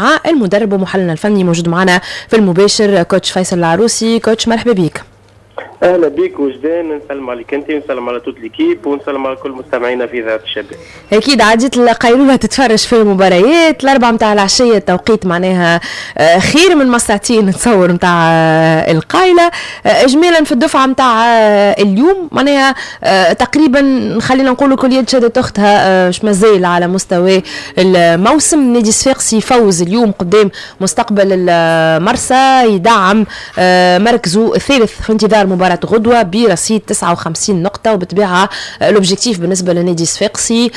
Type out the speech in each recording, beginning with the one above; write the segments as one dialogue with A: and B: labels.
A: مع المدرب ومحللنا الفني موجود معنا في المباشر coach فيصل العروسي. coach مرحبا بك.
B: اهلا بك وجدان، نسلم عليك انت ونسلم على toute l'équipe ونسلم على كل مستمعينا في اذاعة الشباب.
A: اكيد عديت القيلوله تتفرج في المباريات 4 متاع العشية، التوقيت معناها خير من ما ساعتين نتصور متاع القايله. اجمالا في الدفعة متاع اليوم معناها تقريبا خلينا نقولوا كل يد شدت اختها، مش مازال على مستوى الموسم. نادي الصفاقسي يفوز اليوم قدام مستقبل المرسى، يدعم مركزه الثالث في انتظار مباراة غدوة برصيد 59 نقطة. وبالطبيعة l'objectif بالنسبة للنادي الصفاقسي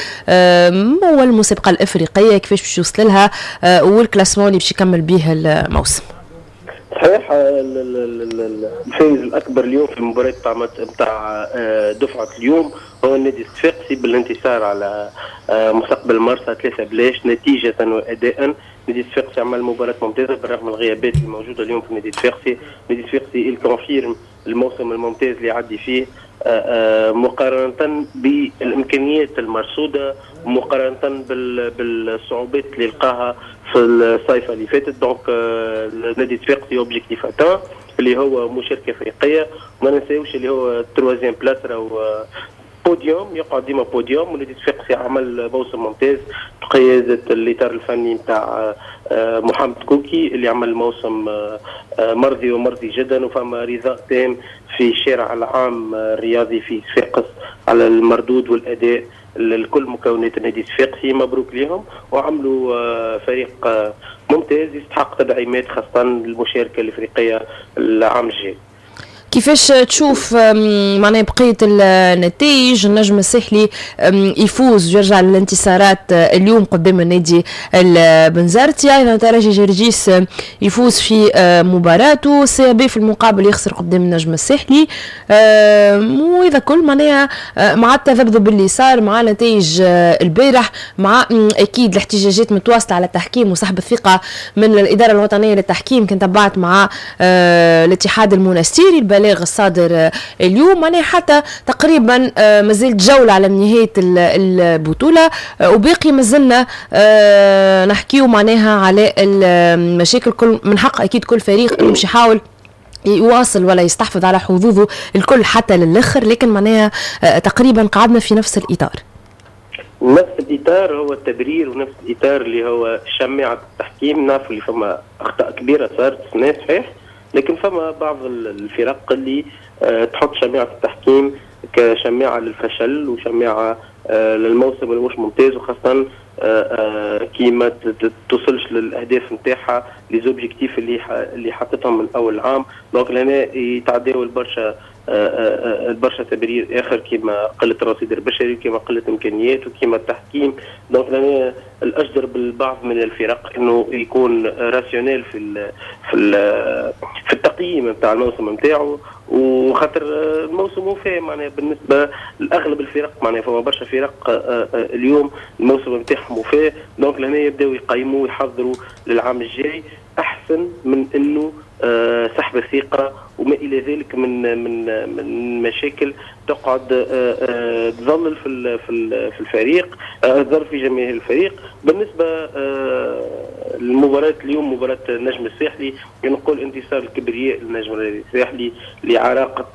A: هو المسابقة الإفريقية، كيفاش باش يوصل لها وال classement اللي باش يكمل به الموسم.
B: صحيح، الفائز الأكبر اليوم في المباراة نتاع دفعة اليوم هو النادي الصفاقسي بالانتصار على مستقبل مرسى 3-0 نتيجة وأداء. نادي الصفاقسي عمل مباراة ممتازة بالرغم من الغيابات الموجودة اليوم في النادي الصفاقسي. النادي الصفاقسي il confirme الموسم الممتاز اللي يعدي فيه مقارنة بالإمكانيات المرصودة، مقارنة بالصعوبات اللي لقاها في الصيفة اللي فاتت. donc النادي الصفاقسي objectif atteint اللي هو مشاركة افريقية، وما ننساوش اللي هو troisième place راهو بوديوم، يقعد ديما بوديوم. والنادي الصفاقسي عمل موسم ممتاز بقيادة الإطار الفني نتاع محمد كوكي اللي عمل موسم مرضي ومرضي جدا، وفما رضاء تام في الشارع العام الرياضي في صفاقس على المردود والأداء لكل مكونات النادي الصفاقسي. مبروك لهم، وعملوا فريق ممتاز يستحق تدعيمات خاصة المشاركة الإفريقية العام الجاي.
A: كيفاش تشوف معناها بقية النتائج؟ النجم الساحلي يفوز ويرجع للانتصارات اليوم قدام النادي البنزرتي، ايضا ترجي جرجيس يفوز في مباراته، CAB في المقابل يخسر قدام النجم الساحلي. واذا كل معناها مع التذبذب اللي صار مع نتائج البارح، مع اكيد الاحتجاجات متواصلة على التحكيم وسحب الثقة من الادارة الوطنية للتحكيم، كنت تبعت مع الاتحاد المونستيري البلاغ الصادر اليوم، معناها حتى تقريبا مازالت جولة على نهاية البطولة وباقي مازلنا نحكيو معناها على المشاكل. كل من حق اكيد كل فريق انه باش يحاول يواصل ولا يستحفظ على حظوظه الكل حتى للاخر، لكن معناها تقريبا قعدنا في نفس الاطار.
B: نفس الاطار هو التبرير ونفس الاطار اللي هو شماعة التحكيم. نعرفوا اللي فما اخطاء كبيرة صارت السنة صحيح، لكن فما بعض الفرق اللي تحط شماعة التحكيم كشماعة للفشل وشماعة للموسم اللي مش ممتاز، وخاصة كي ما توصلش للاهداف نتاعها، les objectifs اللي حطتهم من اول عام. donc لهنا يتعداو البرشا تبرير اخر كيما قلة الرصيد البشري، كيما قلة امكانيات، وكيما التحكيم. donc لهنا الاجدر بالبعض من الفرق انه يكون rationnel في في التقييم نتاع الموسم نتاعو، وخاطر الموسم وفى معناها بالنسبة لاغلب الفرق، معناها فما برشا فرق اليوم الموسم نتاعهم وفى. donc لهنا يبداو يقيموا ويحضروا للعام الجاي احسن من انه سحب الثقة وما الى ذلك من مشاكل تقعد تظلل في الفريق، تظل في جماهير الفريق. بالنسبة للمباراة اليوم، مباراة النجم الساحلي، نقول انتصار الكبرياء للنجم الساحلي لعراقه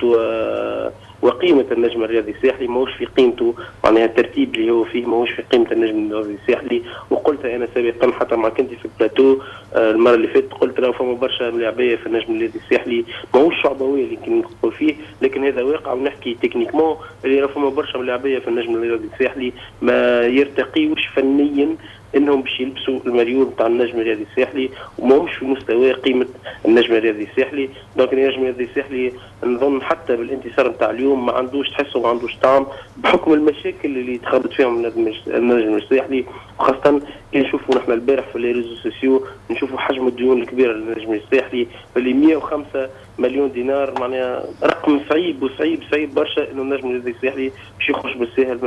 B: وقيمة النجم الرياضي الساحلي، ماهوش في قيمته، معناها الترتيب اللي هو فيه ماهوش في قيمة النجم الرياضي الساحلي. وقلت أنا سابقا حتى مع كنتي في البلاتو المرة اللي فاتت، قلت لو فما برشا ملاعبية في النجم الرياضي الساحلي ماهوش شعبوية اللي كنا نقول فيه، لكن هذا واقع ونحكي techniquement اللي فما برشا ملاعبية في النجم الرياضي الساحلي ما يرتقيوش فنيا انهم باش يلبسوا المريول نتاع النجم الرياضي الساحلي، وماهمش في مستوى قيمة النجم الرياضي الساحلي. donc النجم الرياضي الساحلي نظن حتى بالانتصار نتاع اليوم ما عندوش، تحسه ما عندوش طعم بحكم المشاكل اللي تخبط فيهم النجم الساحلي، وخاصة كي نشوفوا نحن البارح في les réseaux sociaux نشوفوا حجم الديون الكبيرة للنجم الساحلي اللي 105 مليون دينار، معناها رقم صعيب وصعيب صعيب برشا انه النجم الرياضي الساحلي باش يخرج بالساهل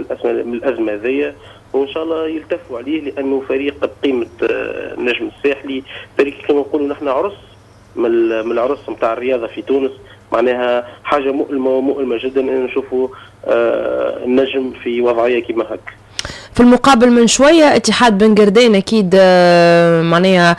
B: من الازمة هذيا، وان شاء الله يلتفوا عليه لانه فريق بقيمة النجم الساحلي فريق كما نقولوا نحن عرس من العرس نتاع الرياضة في تونس، معناها حاجة مؤلمة ومؤلمة جدا ان نشوفوا النجم في وضعية كما هكا.
A: في المقابل من شوية اتحاد بن قردان اكيد معناها.